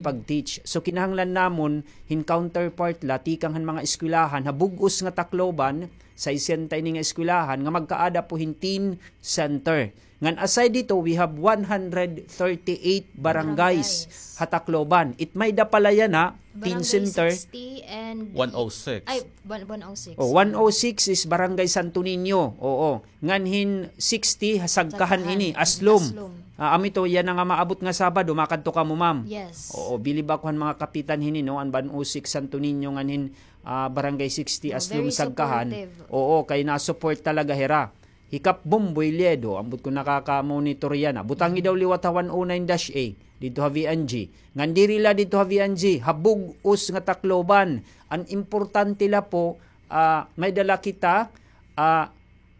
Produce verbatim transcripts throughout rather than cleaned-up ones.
pag-teach. So, kinahanglan namon hin counterpart la tikang han mga eskwelahan ha bug-os nga Tacloban, sesenta ini nga eskwelahan nga magkaada po hin teen center. Ngan aside dito, we have one hundred thirty-eight barangays ha Tacloban. It may da pala yana, teen center. Barangay sixty and one oh six. Ay, one, one oh six. Oh, one oh six is Barangay Santo Niño. Oo. Ngan hin sixty, ha Sagkahan ini, Aslom. Aslom. Ah, amo ito, yana nga maabot nga Sabado, makadto kamo, ma'am. Yes. Oo, bilib ako han mga kapitan hini, no, an one oh six Santo Niño ngan hin, ah, Barangay sixty, Aslom, Sagkahan. Oo, kay na-support talaga hira. Hi Kap Bomboy Liedo, ambot ko nakaka-monitor yana. Butangi daw liwat ha one oh nine dash A, didto ha V N G. Ngan diri la didto ha V N G, ha bug-os nga Tacloban. An importante la po, ah, may dala kita, ah,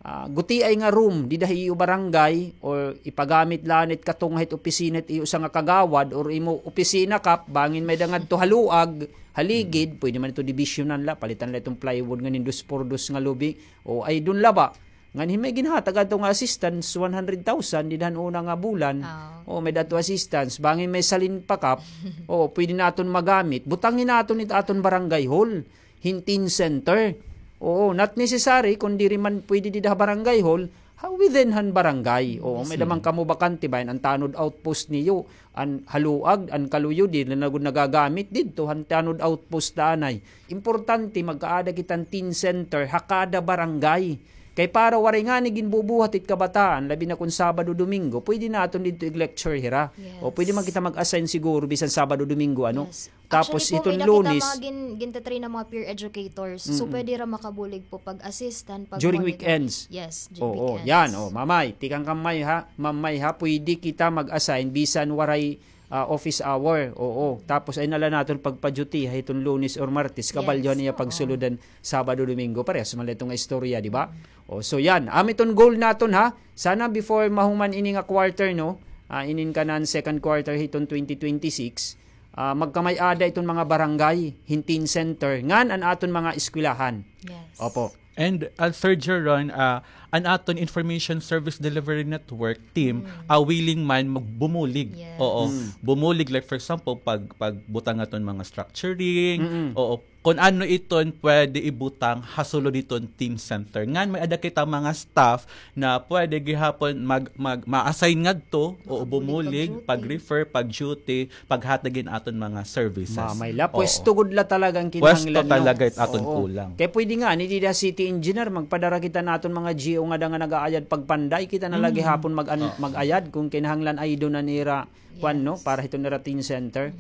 ah, gutiay nga room dida ha iyo barangay, or ipagamit la anay it katunga hit opisina hit iyo usa nga kagawad, or imo opisina, Kap, bangin may da ngadto ha luag, ha ligid, pwede man ito dibisyonan la, palitan la iton plywood ngan hin dos por dos nga lubi, o ay dun la ba? Ngan hin may ginhatag adto nga assistance, one hundred thousand, dida han una nga bulan. O, may da adto assistance. Bangin may salin pa, Kap. O, pwede naton magamit. Butangi naton it aton barangay hall. Hin teen center. Oo, not necessary, kun diri man pwede dida ha barangay hall, ha within han barangay. Oo, may da man kamo bakante, bahin an tanod outpost niyo. An ha luag, an kaluyo, diri na gud nagagamit didto, han tanod outpost da anay. Importante, magkaada kita hin teen center ha kada barangay. Kay para waray ngani ginbubuhat it kabataan, labi na kun Sabado, Domingo, pwede naton didto ig-lecture hira. O pwede man kita mag-assign siguro bisan Sabado, Domingo, ano? Tapos hiton Lunes, actually po, may da kita mga gin-, ginta-train na mga peer educators. So, pwede ra makabulig po pag-assistan, pag-monitor. During weekends? Yes, during weekends. Oo, yan. O, Ma'am May, tikang kan May ha, Ma'am May ha, pwede kita mag-assign bisan waray ah, office hour, oo. Tapos ay na la naton pagpa-duty ha hiton Lunes or Martes, kabalyo han iya pagsulod han Sabado, Domingo. Parehas man la ito nga istorya, di ba? O, so yan. Amo iton goal naton, ha. Sana before mahuman ini nga quarter, no? Ah, inin kanan second quarter hiton twenty twenty-six, ah, magkamay-ada iton mga barangay hin teen center ngan an aton mga eskwelahan. Yes. Opo. And, ah, Sir Jeron, ah, an aton Information Service Delivery Network team, ah, willing man magbumulig. Yes. Oo. Bumulig, like, for example, pag, pagbutang aton mga structuring, oo, kun ano iton pwede ibutang ha sulod hiton teen center. Ngan may-ada kita mga staff na pwede gihapon mag, mag, ma-assign ngadto, oo, bumulig, pag-refer, pag-duty, paghatag hin aton mga services. Mamay la, pwesto gud la talaga an kinahanglan, no? Pwesto talaga it aton kulang. Kay pwede ngani dida city engineer, magpadara kita han aton mga G O ngada nga nag-aayad pagpanday, kita na la gihapon mag-, mag-ayad kon kinahanglan ay duna nira, kuan, no, para hiton ira teen center.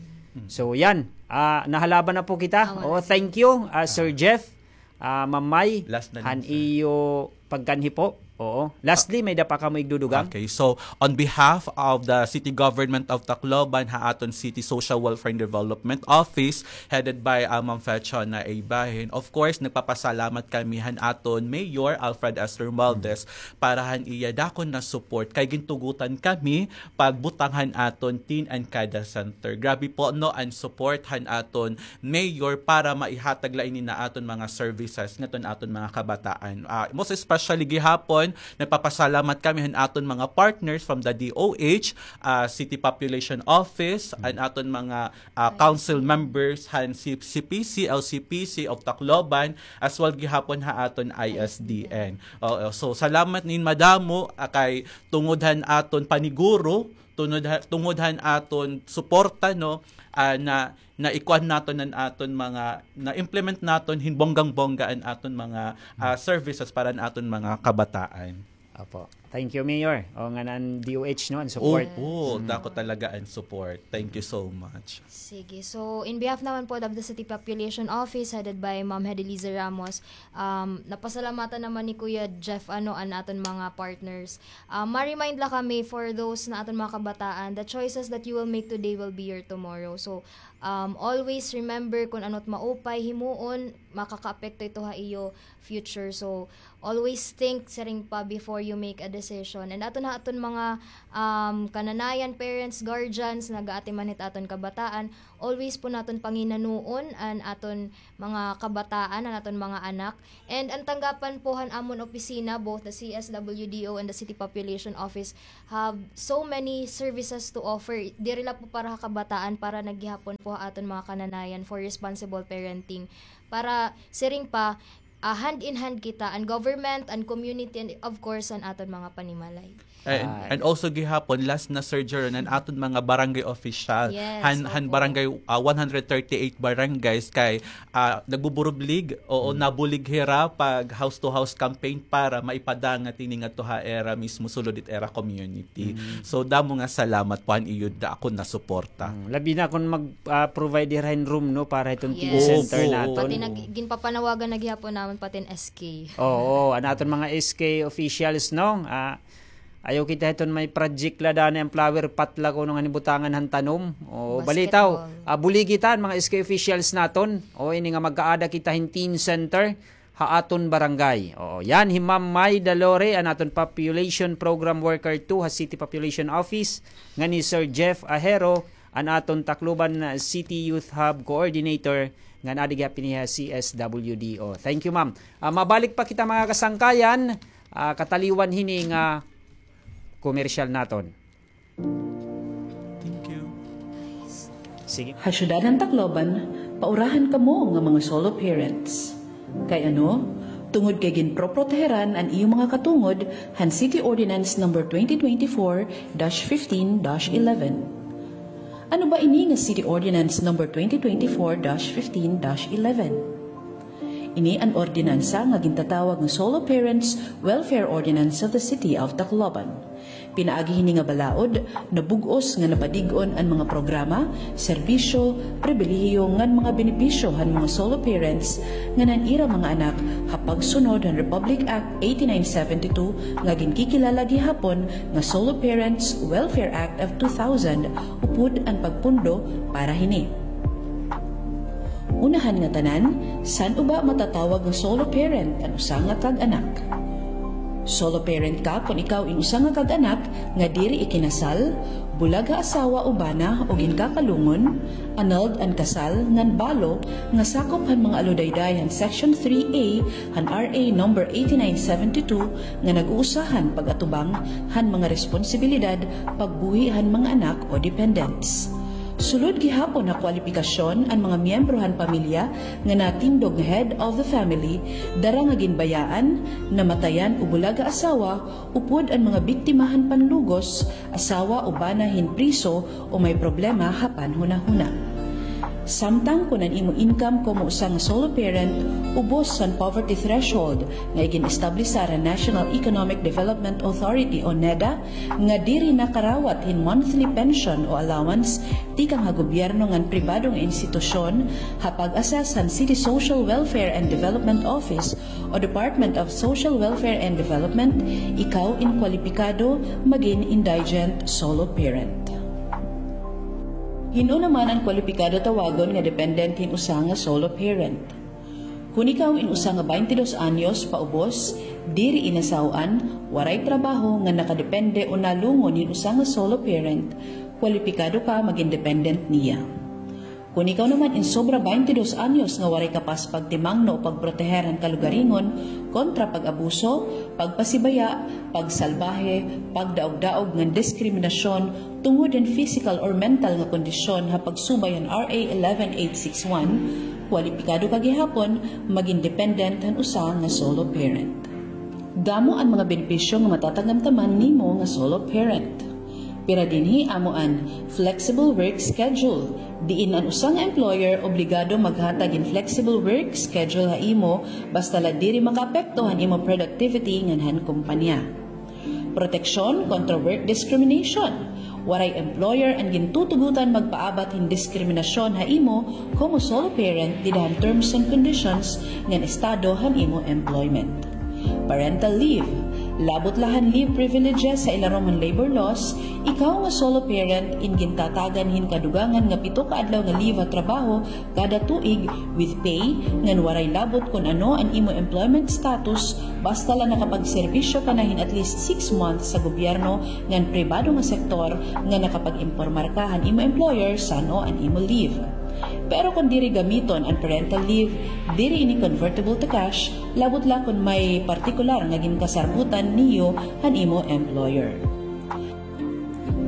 So, yan. Ah, nahalaban na po kita. Oo, thank you, ah, Sir Jeff. Ah, Ma'am May, han iyo pagkanhi po. Oo. Lastly, may-ada pa kamo igdudugang? Okay, so on behalf of the City Government of Tacloban, ha aton City Social Welfare and Development Office, headed by, ah, Ma'am Fechona A. Bahin, of course, nagpapasalamat kami han aton Mayor Alfred S. Romualdez para han iya dako nga support kay gintugutan kami pagbutang han aton Teen and CADA Center. Grabe po, no, an support han aton Mayor para maihatag la ini nga aton mga services ngadto han aton mga kabataan. Ah, most especially gihapon, nagpapasalamat kami han aton mga partners from the D O H, ah, City Population Office, an aton mga, ah, council members han C-, C P C, L C P C of Tacloban, as well gihapon ha aton I S D N. Oo, so salamat nin madamo, ah, kay tungod han aton paniguro, tungod ha-, tungod han aton suporta, no, ah, na, naikuan naton an aton mga, na-implement naton hin bonggang-bongga an aton mga, ah, services para an aton mga kabataan. Opo. Thank you, Mayor. O, ngan an D O H, no, an support. Opo, dako talaga an support. Thank you so much. Sige. So, in behalf naman po of the City Population Office headed by Ma'am Hedeliza Ramos, um, napasalamatan naman ni Kuya Jeff, ano, an aton mga partners. Ah, ma-remind la kami for those na aton mga kabataan, the choices that you will make today will be your tomorrow. So, um, always remember kun ano it maupay himuon, makakaapekto ito ha iyo future. So, always think, siring pa, before you make a decision. And aton ha aton mga, um, kananayan, parents, guardians, nagaatiman hit aton kabataan, always po naton panginanoon an aton mga kabataan, an aton mga anak. And an tanggapan po han amon opisina, both the C S W D O and the City Population Office, have so many services to offer. Diri la po para ha kabataan, para na gihapon po ha aton mga kananayan for responsible parenting. Para siring pa, ah, hand in hand kita, an government, an community, and of course, an aton mga panimalay. And, and also gihapon, last na, Sir Jeron, an aton mga barangay official. Yes, han, han opo. Barangay, ah, one hundred thirty-eight barangays kay, ah, nagbuburublig, oo, nabulig hira pag house to house campaign para maipadangat ini ngadto ha ira mismo sulod it ira community. So, damo nga salamat po han iyo dako nga suporta. Mm, labi na kon mag, ah, provide hira hin room, no, para hiton teen center naton. Pati nag-, ginpapanawagan na gihapon namon pati an S K. Oo, an aton mga S K officials, no? Ah, ayaw kita hiton may project la, dani an flower pot la kuno nga ginbutangan han tanom. O, balitaw, ah, buligi ta an mga S K officials naton. O, ini nga magkaada kita hin teen center ha aton barangay. Oo, yan hi Ma'am May Dalore, an aton Population Program Worker two ha City Population Office, ngan hi Sir Jeff Ahero, an aton Tacloban City Youth Hub Coordinator, ngan adi gihap hini ha C S W D O. Thank you, ma'am. Ah, mabalik pa kita, mga kasangkayan, ah, kataliwan hini nga komersyal naton. Thank you. Sige. Ha syudad han Tacloban, paurahan kamo nga mga solo parents. Kay ano? Tungod kay ginproproteheran an iyo mga katungod han City Ordinance Number twenty twenty-four dash fifteen dash eleven. Ano ba ini nga City Ordinance Number twenty twenty-four dash fifteen dash eleven? Ini an ordinansa nga gintatawag nga Solo Parents Welfare Ordinance of the City of Tacloban. Pinaagi hini nga balaod, nabug-os nga napadig-on an mga programa, serbisyo, pribilehiyo ngan mga benepisyo han mga solo parents ngan an ira mga anak ha pagsunod han Republic Act eighty-nine seventy-two nga ginkikilala gihapon nga Solo Parents Welfare Act of two thousand, upod an pagpundo para hini. Unahan nga tanan, san-o ba matatawag nga solo parent an usa nga kag-anak? Solo parent ka kon ikaw in usa nga kag-anak nga diri ikinasal, bulag ha asawa o bana o ginkakalungon, annulled an kasal ngan balo nga sakop han mga aludayday han Section three A han R A number eighty-nine seventy-two nga nag-uusahan pag-atubang han mga responsibilidad pagbuhi han mga anak o dependents. Sulod gihapon ha kwalipikasyon an mga miyembro han pamilya nga natindog nga head of the family, dara nga ginbayaan, namatayan o bulag ha asawa, upod an mga biktima han panlugos, asawa o bana hin priso o may problema ha panhunahuna. Samtang kon an imo income komo usa nga solo parent ubos han poverty threshold nga igin-establisa han National Economic Development Authority o NEDA, nga diri nakarawat hin monthly pension o allowance tikang ha gobyerno ngan pribado nga institusyon, ha pag-assess han City Social Welfare and Development Office o Department of Social Welfare and Development, ikaw in kwalipikado magin indigent solo parent. Hin-o naman an kwalipikado tawagon nga dependent hin usa nga solo parent? Kon ikaw in usa nga baynte dos anyos paubos, diri inasaw-an, waray trabaho nga nakadepende o nalungon hin usa nga solo parent, kwalipikado ka magin dependent niya. Kon ikaw naman in sobra baynte dos anyos nga waray kapas pagtimangno o pagproteher han kalugaringon kontra pag-abuso, pagpasibaya, pagsalbahe, pagdaog-daog ngan diskriminasyon tungod hin physical or mental nga kondisyon ha pagsubay han R A eleven eight six one, kwalipikado ka gihapon magin dependent han usa nga solo parent. Damo an mga benepisyo nga matatagamtaman nimo nga solo parent. Pira dinhi amo an flexible work schedule, diin an usa nga employer obligado maghatag hin flexible work schedule ha imo basta la diri makaapekto han imo productivity ngan han kompanya. Proteksyon kontra work discrimination. Waray employer an gintutugotan magpaabat hin diskriminasyon ha imo komo solo parent dida han terms and conditions ngan estado han imo employment. Parental leave. Labot la han leave privileges ha ilarom han labor laws, ikaw nga solo parent, in gintatagan hin kadugangan nga pito ka adlaw nga leave ha trabaho kada tuig with pay, ngan waray labot kon ano an imo employment status, basta la nakapagserbisyo ka na hin at least six months sa gobyerno ngan pribado nga sektor nga nakapag-impormar ka han imo employer san-o an imo leave. Pero kon diri gamiton an parental leave, diri ini convertible to cash, labot la kon may partikular nga ginkasarbutan niyo han imo employer.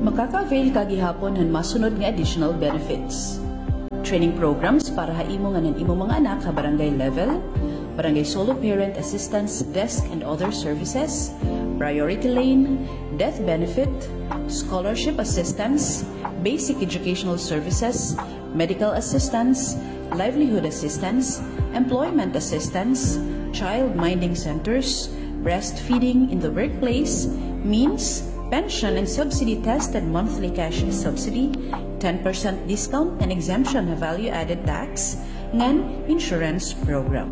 Makaka-avail ka gihapon han masunod nga additional benefits. Training programs para ha imo ngan han imo mga anak ha barangay level, barangay solo parent assistance desk and other services, priority lane, death benefit, scholarship assistance, basic educational services, medical assistance, livelihood assistance, employment assistance, child minding centers, breastfeeding in the workplace, means, pension and subsidy tested monthly cash subsidy, ten percent discount and exemption ha value-added tax, ngan insurance program.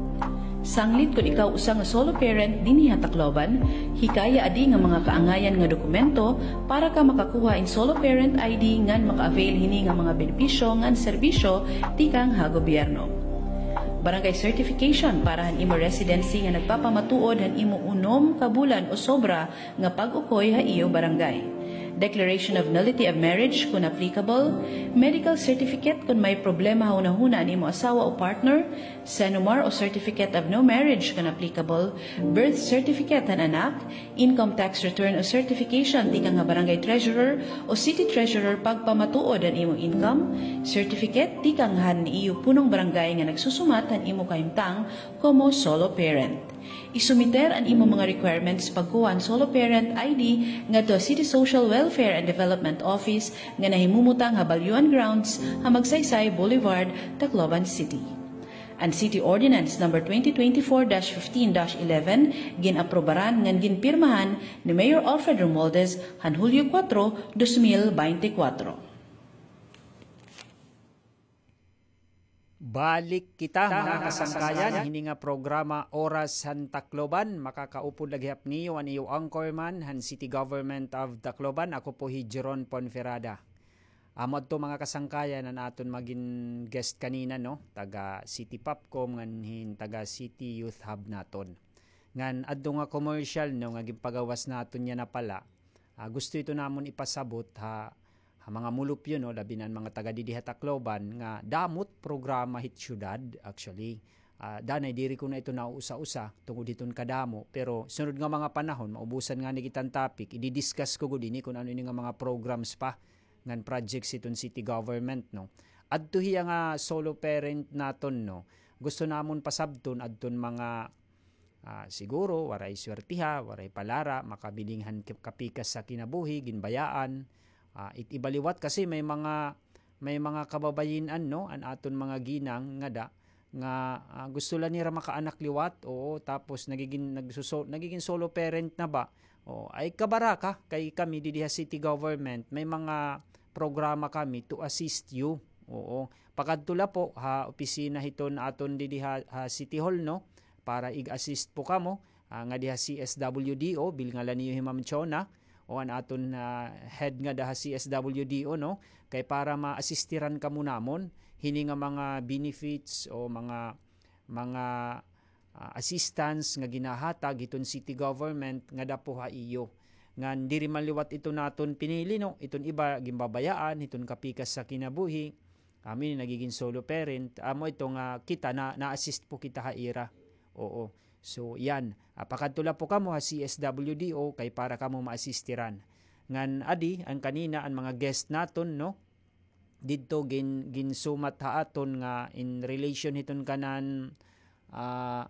Sanglit kon ikaw usa nga solo parent dinhi ha Tacloban, hikaya adi nga mga kaangayan nga dokumento para ka makakuha hin solo parent I D ngan maka-avail hini nga mga benepisyo ngan serbisyo tikang ha gobyerno. Barangay certification para han imo residency nga nagpapamatuod han imo unom ka bulan o sobra nga pag-ukoy ha iyo barangay. Declaration of nullity of marriage kon applicable, medical certificate kon may problema ha hunahuna an imo asawa o partner, CENOMAR o certificate of no marriage kon applicable, birth certificate han anak, income tax return o certification tikang ha barangay treasurer o city treasurer pagpamatuod han imo income, certificate tikang han iyo punong barangay nga nagsusumat han imo kahimtang komo solo parent. Isumiter an imo mga requirements pagkuha han solo parent I D ngadto ha City Social Welfare and Development Office nga nahimumutang ha Balyuan Grounds ha Magsaysay Boulevard, Tacloban City. An City Ordinance Number twenty twenty-four dash fifteen dash eleven gin-aprobaran ngan ginpirmahan ni Mayor Alfred Romualdez han Hulyo kuwatro, dos mil beintikwatro. Balik kita, mga kasangkayan, hini nga programa Oras han Tacloban. Makakaupod la gihap niyo an iyo anchorman han City Government of Tacloban. Ako po hi Jeron Ponferrada. Amo adto, mga kasangkayan, an aton magin guest kanina, no? Taga City Popcom ngan hin taga City Youth Hub naton. Ngan adto nga commercial, no, nga ginpagawas naton yana pala. Ah, gusto ito namon ipasabot ha, ha mga mulupyo, no, labi na an mga taga didi ha Tacloban, nga damo it programa hit syudad, actually. Ah, danay diri ko na ito nauusa-usa tungod hiton kadamo, pero sunod nga mga panahon, maubusan ngani kita hin topic, idi-discuss ko gud ini kon ano ini nga mga programs pa ngan projects hiton city government, no. Adto hiya nga solo parent naton, no. Gusto namon pasabton adton mga, ah, siguro waray swertiha, waray palara, makabiling han kap-, kapikas sa kinabuhi, ginbayaan. Ah, it-, iba liwat kasi may mga, may mga kababayin-an, no, an aton mga ginang ngada nga, ah, gusto la nira makaanak liwat, oo, tapos nagigin-, nagsuso-, nagigin solo parent na ba? Oo, ay kabaraka kay kami didi ha city government, may mga programa kami to assist you. Oo. Pakadto la po ha opisina hiton aton didi ha, ha City Hall, no? Para ig-assist po kamo, ah, ngadi ha C S W D O, bilngan la niyo hi Ma'am Chona, o an aton, ah, head ngada ha C S W D O, no? Kay para ma-assistiran kamo namon, hini nga mga benefits o mga, mga, ah, assistance nga ginahatag hiton city government ngada po ha iyo. Ngan diri man liwat ito naton pinili, no? Iton iba, ginbabayaan, hiton kapikas sa kinabuhi. Kami nagigin solo parent, amo ito nga kita na, na-assist po kita ha ira. Oo. So, yan. Ah, pakadto la po kamo ha C S W D O kay para kamo ma-assistiran. Ngan adi, an kanina, an mga guest naton, no? Didto gin-, ginsumat ha aton nga in relation hiton kanan, ah,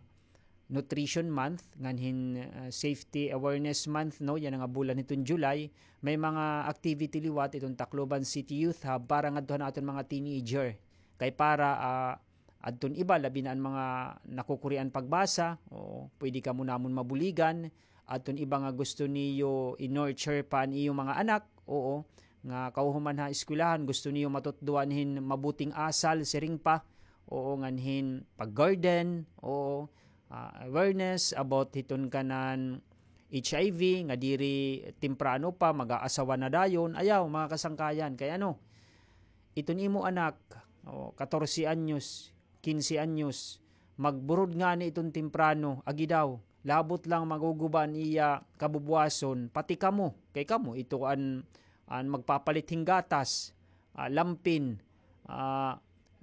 Nutrition Month, ngan hin, ah, Safety Awareness Month, no? Yana nga bulan hiton July, may mga activity liwat iton Tacloban City Youth Hub para ngadto han aton mga teenager. Kay para, ah, adton iba, labi na an mga nakukurian pagbasa, oo, pwede kamo namon mabuligan. Adton iba nga gusto niyo i-nurture pa an iyo mga anak, oo, nga kahuman ha eskwelahan, gusto niyo matutdoan hin mabuting asal, siring pa, oo, ngan hin pag-garden, oo, ah, awareness about hiton kanan H I V, nga diri temprano pa, mag-aasawa na dayon. Ayaw, mga kasangkayan, kay ano, iton imo anak, o, katorse anyos, kinse anyos, magburod ngani iton temprano, agi daw, labot lang maguguba an iya kabubuwason, pati kamo, kay kamo, ito an, an magpapalit hin gatas, ah, lampin, ah,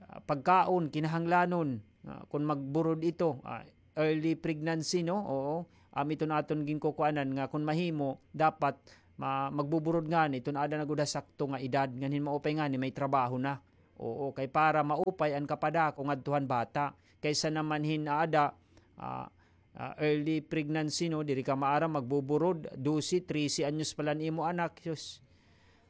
ah, pagkaon, kinahanglanon, ah, kun magburod ito, ah, early pregnancy, no? Oo. Amo iton aton ginkukuanan nga kun mahimo, dapat ma-, magbuburod ngani iton aada na gud ha sakto nga edad, nganhin maupay ngani may trabaho na. Oo, kay para maupay an kapadako ngadto han bata. Kaysa naman hin aada, ah, ah, early pregnancy, no, diri ka maaram, magbuburod, dose, trese anyos pa la an imo anak, sus.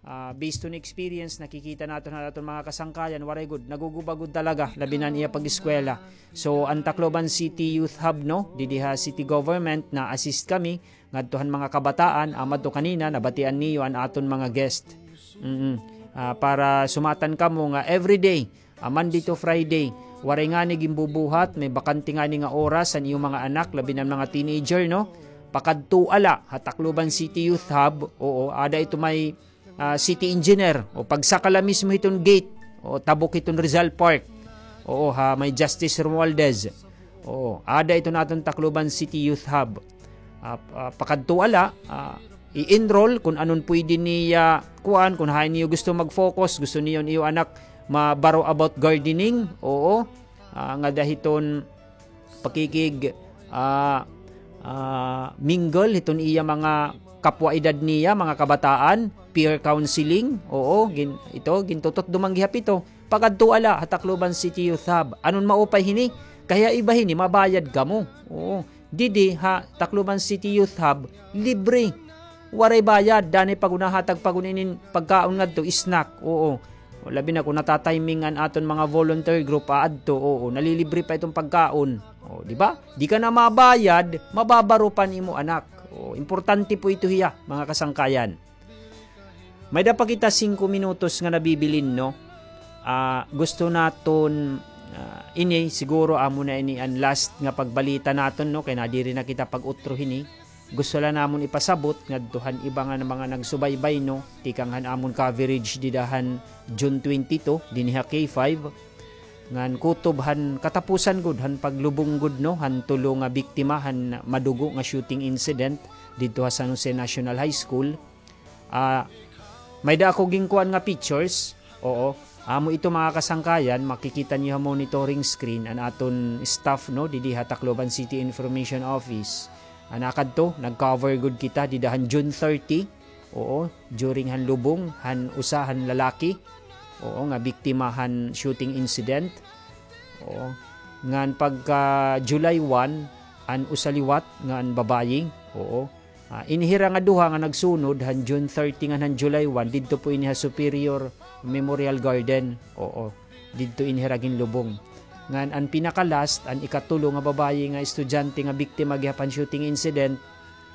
Ah, based on experience, nakikita naton han aton mga kasangkayan, waray gud, naguguba gud talaga, labi na an iya pag-eskwela. So, an Tacloban City Youth Hub, no, didi ha city government, na-assist kami ngadto han mga kabataan, amo adto kanina, nabatian niyo an aton mga guest. Mm. Ah, para sumatan kamo nga everyday, ah, Monday to Friday, waray ngani ginbubuhat, may bakante ngani nga oras an iyo mga anak, labi na an mga teenager, no? Pakadtoa la ha Tacloban City Youth Hub, oo, aada ito may, ah, city engineer, o pagsaka la mismo hiton gate, o tabok hiton Rizal Park, oo, ha may Justice Romualdez. Oo, aada iton aton Tacloban City Youth Hub. Ah, ah, pakadtoa la, ah, i-enroll kun anon pwede niya kuan, kun hain niyo gusto mag-focus, gusto niyo an iyo anak mabaro about gardening, oo, ah, ngada hiton pakikig, ah, ah, mingle hiton iya mga kapwa edad niya, mga kabataan, peer counseling, oo, gin-, ito, gintutot dumanggi ha pito, pakadtoa la ha Tacloban City Youth Hub. Anon maupay hini? Kay ha iba hini, mabayad kamo. Oo. Didi ha Tacloban City Youth Hub, libre. Waray bayad, danay pa gud nahatag pa gud inin pagkaon ngadto, snack. Oo. Labi na kun natatiming an aton mga volunteer group aadto, oo, nalilibre pa iton pagkaon. O, di ba? Di ka na mabayad, mababaro pa an imo anak. O, importante po ito hiya, mga kasangkayan. May-ada pa kita singko minutos nga nabibilin, no? Ah, gusto naton, ah, ini, siguro amo na ini an last nga pagbalita naton, no? Kay nadiri na kita pag-utro hini. Gusto la namon ipasabot ngadto han iba nga mga nagsubaybay, no? Tikang han amon coverage dida han June twenty-two, dinhi ha K five. Ngan kutob han katapusan gud han paglubong gud, no? Han tulo nga biktima han madugo nga shooting incident didto ha San Jose National High School. Ah, may-ada ako ginkuan nga pictures. Oo. Amo ito, mga kasangkayan, makikita niyo ha monitoring screen an aton staff, no, didi ha Tacloban City Information Office. An nakadto, nag-cover gud kita dida han June thirty. Oo, during han lubong han usa han lalaki. Oo, nga biktima han shooting incident. Oo. Ngan pagka July one, an usa liwat nga an babayi. Oo. Ah, ini hira nga duha nga nagsunod han June thirty ngan han July one, didto po ini ha Superior Memorial Garden. Oo, didto ini hira ginlubong. Ngan an pinaka-last, an ikatulo nga babayi nga estudyante nga biktima gihap han shooting incident,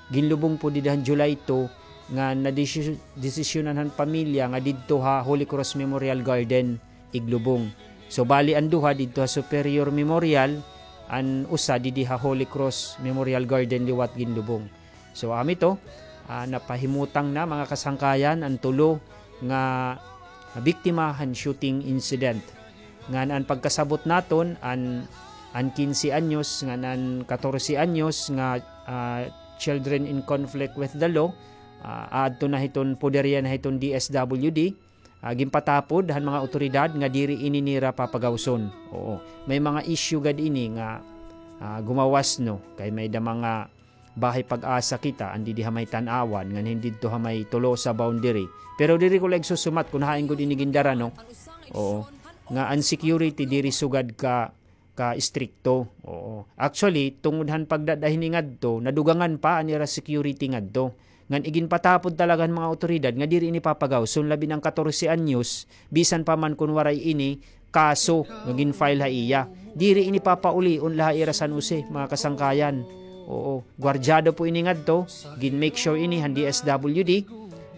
ginlubong po dida han July two, nga nadesi-, desisyonan han pamilya nga didto ha Holy Cross Memorial Garden iglubong. So, bali an duha didto ha Superior Memorial, an usa didi ha Holy Cross Memorial Garden liwat ginlubong. So, amo ito, ah, napahimutang na, mga kasangkayan, an tulo nga biktima han shooting incident. Ngan an pagkasabot naton, an, an kinse anyos, ngan an katorse anyos nga, ah, children in conflict with the law, ah, aadto na hiton, poderya na hiton D S W D, ah, ginpatapod han mga awtoridad nga diri ini nira papagawson. Oo, may mga issue gad ini nga, ah, gumawas, no, kay may-ada mga bahay Pag-asa kita, an didi ha may Tanauan, ngan hin didto ha may Tolosa boundary. Pero diri ko la igsusumat kun hain gud ini gindara, no? Oo. Nga an security diri sugad ka, ka istrikto. Oo. Actually, tungod han pagdad-a hini ngadto, nadugangan pa an ira security ngadto. Ngan iginpatapod talaga han mga awtoridad nga diri ini papagawson, labi na an katorse anyos, bisan pa man kun waray ini kaso nga gin-file ha iya. Diri ini papaulion la ha ira San Jose, mga kasangkayan. Oo, gwardyado po ini ngadto, gin-make sure ini han D S W D,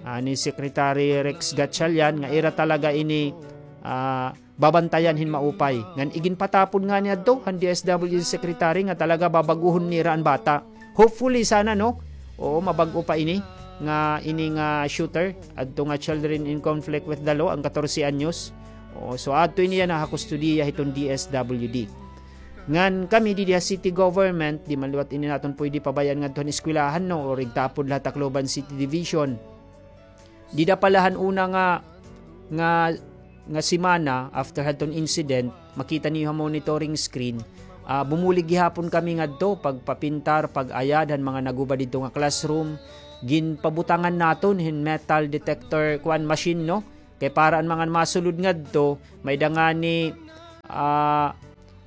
ah, ni Secretary Rex Gatchalian, nga ira talaga ini, ah, babantayan hin maupay. Ngan iginpatapod ngani adto han D S W D secretary nga talaga babaguhon nira an bata. Hopefully, sana, no? Oo, mabag-o pa ini nga, ini nga shooter, adto nga children in conflict with the law, an katorse anyos. Oo, so adto ini yana ha kustodiya hiton D S W D. Ngan kami didi ha city government, di man liwat ini naton pwede pabayaan ngadto han eskwelahan, no? O igtapod la ha Tacloban City Division. Dida pa la han una nga, nga, nga semana after hadton incident, makita niyo ha monitoring screen, ah, bumulig gihapon kami ngadto, pagpapintar, pag-ayad han mga naguba didto nga classroom. Ginpabutangan naton hin metal detector, kuan, machine, no? Kay para an mga masulod ngadto, may-ada ngani, ah,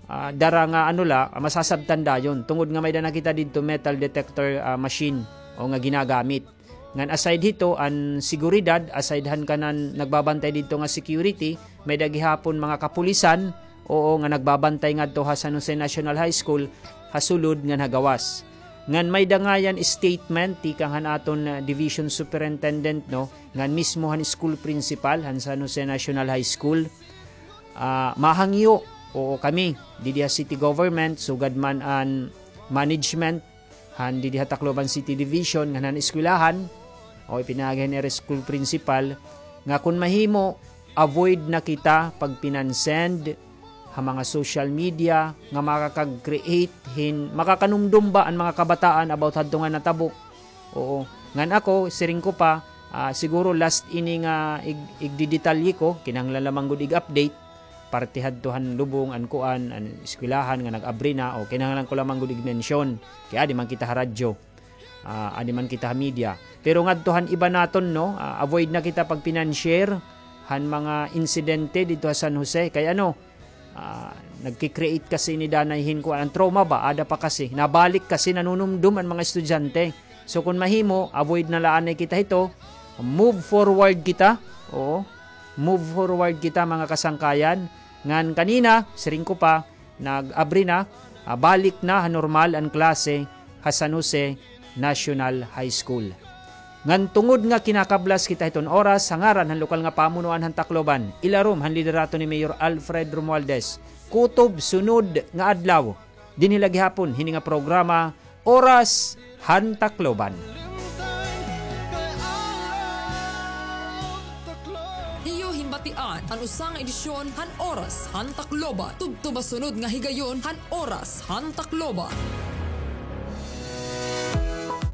ah, dara nga ano la, ah, masasabtan dayon. Tungod nga may-ada na kita didto metal detector, ah, machine o nga ginagamit. Ngan aside hito, an seguridad, aside han kanan nagbabantay didto nga security, may-ada gihapon mga kapulisan, oo, nga nagbabantay ngadto ha San Jose National High School, ha sulod ngan ha gawas. Ngan may-ada ngayan statement tikang han aton, ah, division superintendent, no, ngan mismo han school principal han San Jose National High School. Ah, mahangyo, oo, kami didi ha city government, sugad man an management han didi ha Tacloban City Division ngan han eskwelahan, o ipinaagi han ira school principal, nga kon mahimo, avoid na kita pagpinansend ha mga social media nga makakag-create hin, makakanumdom ba an mga kabataan about hadto nga natabo. Oo. Ngan ako, siring ko pa, ah, siguro last ini nga ig-, igdidetalye ko, kinahanglan lamang gud ig-update, parte hadto han lubong, an kuan, an eskwelahan nga nag-abri na, o kinahanglan ko lamang gud ig-mention. Kay adi man kita ha radyo. Ah, adi man kita ha media. Pero ngadto han iba naton, no, ah, avoid na kita pagpinanshare han mga insidente didto ha San Jose. Kay ano, ah, nagki-create kasi ini danay hin kuan, an trauma ba, ada pa kasi. Nabalik kasi, nanunumdom an mga estudyante. So, kon mahimo, avoid na la anay kita hito. Move forward kita. Oo. Move forward kita, mga kasangkayan. Ngan kanina, siring ko pa, nag-abri na, ah, balik na ha normal an klase ha San Jose National High School. Ngan tungod nga kinakablas kita hiton oras, ha ngaran han lokal nga pamunuan han Tacloban, ilarom han liderato ni Mayor Alfred Romualdez, kutob sunod nga adlaw, dinhi la gihapon hini nga programa, Oras han Tacloban. Iyo hinbatian an usa nga edisyon han Oras han Tacloban. Tubtob ha sunod nga higayon han Oras han Tacloban.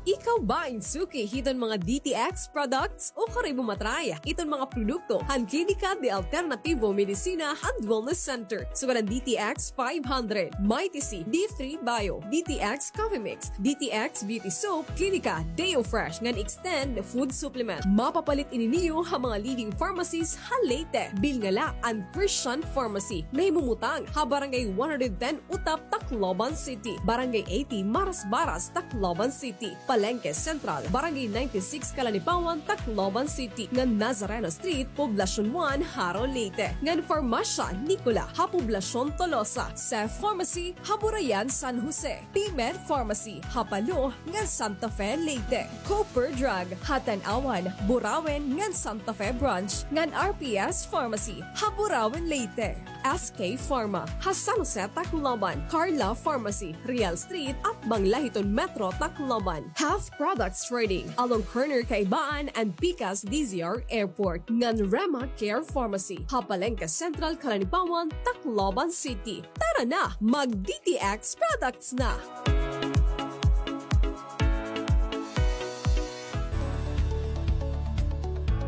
Ikaw ba in suki hiton mga D T X products? Ukari mo matry iton mga produkto han Klinika de Alternativo Medicina and Wellness Center, sugad han D T X five hundred, Mighty C, D three Bio, D T X Coffee Mix, D T X Beauty Soap, Klinika Deo Fresh ngan Extend Food Supplement. Mapapalit ini niyo ha mga leading pharmacies ha Leyte. Bilnga la an Christian Pharmacy, nahimumutang ha Barangay one hundred ten Utap, Tacloban City, Barangay eighty Marasbaras, Tacloban City, Palengke Central, Barangay ninety-six Calanipawan, Tacloban City, ngan Nazareno Street, Poblacion one, Jaro, Leyte, ngan Farmasya Nicola ha Poblacion Tolosa, Seth Pharmacy ha Burayan, San Jose, P-Med Pharmacy ha Palo ngan Santa Fe, Leyte, Cooper Drug ha Tanauan, Burauen ngan Santa Fe Branch, ngan R P S Pharmacy ha Burauen, Leyte. S K Pharma ha San Jose, Tacloban, Carla Pharmacy, Real Street, atbang la hiton Metro Tacloban. Half Products Trading, along corner Kaibaan and Pikas D Z R Airport, ngan Rema Care Pharmacy ha Palengke Central, Calanipawan, Tacloban City. Tara na, mag-D T X products na!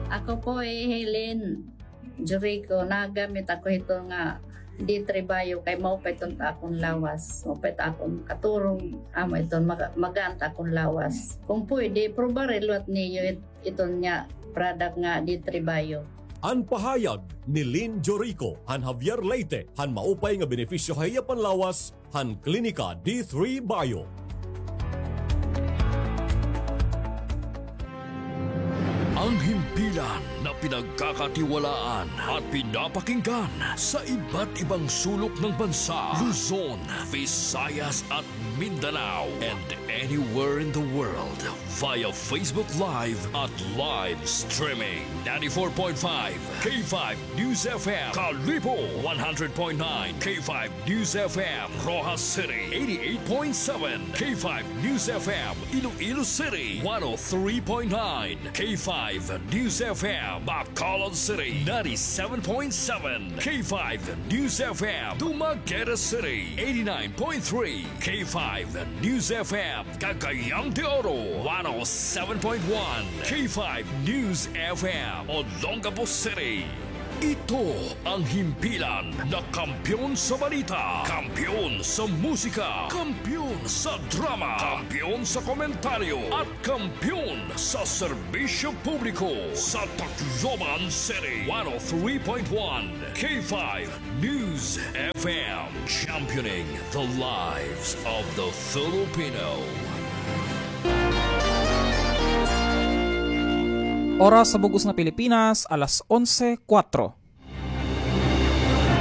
Ako po ay Helen Jurico, nagamit ako hito nga D three Bio kay maupay iton ta akon lawas. Maupay ta akon katurog, amo iton maga-, magaan ta akon lawas. Kung pwede, probare liwat niyo it-, iton nga product nga D three Bio. An pahayag ni Lynn Jorico han Javier Leyte han maupay nga benepisyo ha iya panlawas han Klinika D three Bio. Ang himpilan na pinagkakatiwalaan at pinapakinggan sa iba't ibang sulok ng bansa, Luzon, Visayas at Mindanao, and anywhere in the world via Facebook Live at live streaming. Ninety-four point five K five News F M, Kalibo, one hundred point nine K five News F M, Roxas City, eighty-eight point seven K five News F M, Iloilo City, one oh three point nine K five News F M, Bacolod City, ninety-seven point seven K five News F M, Dumaguete City, eighty-nine point three K five News F M, Cagayan de Oro, one oh seven point one K five News F M, Olongapo City. Ito ang himpilan na kampiyon sa balita, kampiyon sa musika, kampiyon sa drama, kampiyon sa komentaryo, at kampiyon sa serbisyo publiko sa Tacloban City. One oh three point one K five News F M, championing the lives of the Filipino. Oras sa bug-os nga Pilipinas, alas onse kuwatro.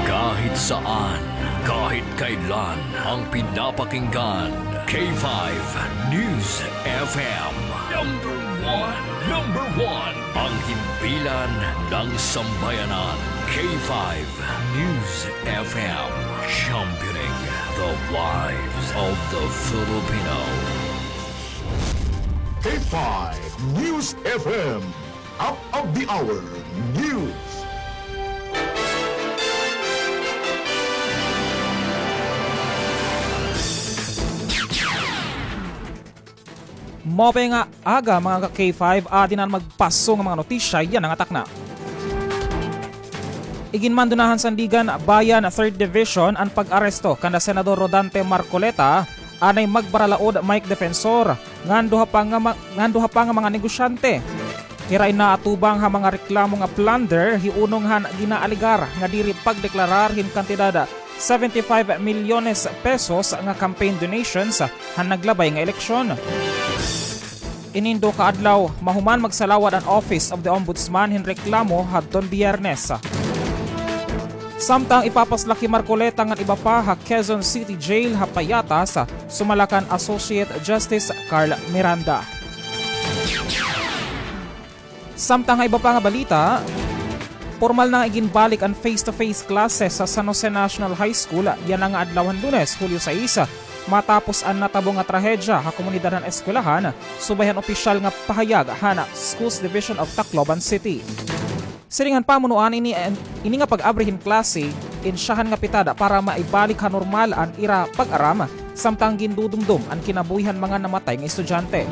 Kahit saan, kahit kailan, ang pinapakinggan, K five News F M. Number one, number one, ang himpilan ng sambayanan, K five News F M, championing the lives of the Filipino. K five News F M, Up of the Hour News. Maupay nga aga, mga ka-K five, adi na an magpaso nga mga notisya yana nga takna. Iginmando na han Sandiganbayan Third Division an pag-aresto kanda Senador Rodante Marcoleta, anay magbaralaod Mike Defensor, ngan duha pa nga ma-, ngan duha pa nga mga negosyante. Hira in naatubang ha mga reklamo nga plunder, hiunong han ginaalegar nga diri pagdeklarar hin kantidad seventy-five milyones pesos nga campaign donations han naglabay nga eleksyon. Inin duha ka adlaw, mahuman magsalawad an Office of the Ombudsman hin reklamo hadton Biyernes. Samtang ipapaslak hi Marcoleta ngan iba pa ha Quezon City Jail ha Payatas, sumala kan Associate Justice Carl Miranda. Samtang ha iba pa nga balita, pormal na nga iginbalik an face-to-face classes sa San Jose National High School yana nga adlaw han Lunes, Hulyo sais, matapos an natabo nga trahedya ha komunidad han eskwelahan, subay han opisyal nga pahayag han Schools Division of Tacloban City. Siring han pamunuan, ini, ini nga pag-abri hin klase, insyahan nga pitada para maibalik ha normal an ira pag-aram, samtang gindudumdom an kinabuhi han mga namatay nga estudyante.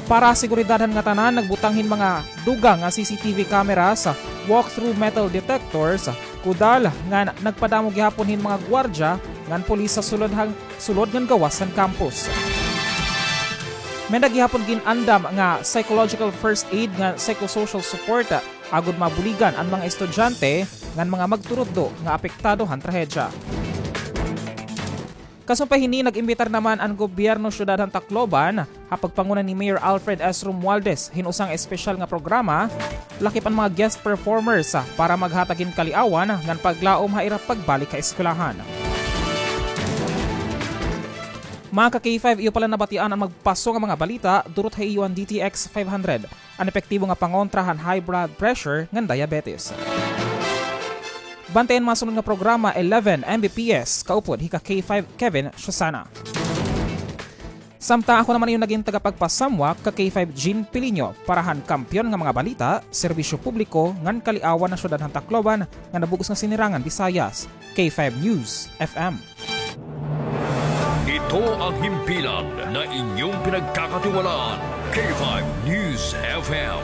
Para ha seguridad han ngatanan, nagbutang hin mga dugang nga C C T V cameras, walk-through metal detectors, kudal, ngan nagpadamo gihapon hin mga gwardya ngan pulis sa sulod han, sulod ngan gawas han campus. May-ada gihapon gin-andam nga psychological first aid ngan psychosocial support agod mabuligan an mga estudyante ngan mga magturutdo nga apektado han trahedya. Kasumpay hini, nag-imbitar naman an gobyerno syudad han Tacloban, ha pagpanguna ni Mayor Alfred S. Romualdez, hin usa nga espesyal nga programa, lakip an mga guest performers, para maghatag hin kaliawan ngan paglaom ha ira pagbalik ha eskwelahan. Mga ka-K five, iyo pa la nabatian an magpaso nga mga balita, durot ha iyo an D T X five hundred. An epektibo nga pangontra han high blood pressure ngan diabetes. Bantay an masunod nga programa, eleven M B P S, kaupod hi ka-K five Kevin Susana. Samtang ako naman iyo nagin tagapagpasamwak, ka-K five Jean Piliño, para han kampiyon nga mga balita, serbisyo publiko, ngan kaliawan han syudad han Tacloban, ngan ha bug-os nga sinirangan Visayas. K five News F M. Ito ang himpilan na inyong pinagkakatiwalaan, K five News F M.